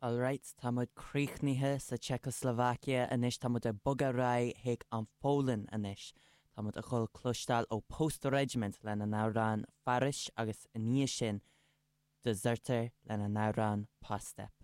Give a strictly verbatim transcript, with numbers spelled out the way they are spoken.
Alright, tá muid críochnaithe sa Czechoslovakia anois tá muid ag bogadh ar aghaidh chuig an Pholainn anois. Tá muid ag dul cloisteáil ó Post Regiment lena n-amhrán Fairis agus ina dhiaidh sin Dezerter lena n-amhrán Pastep.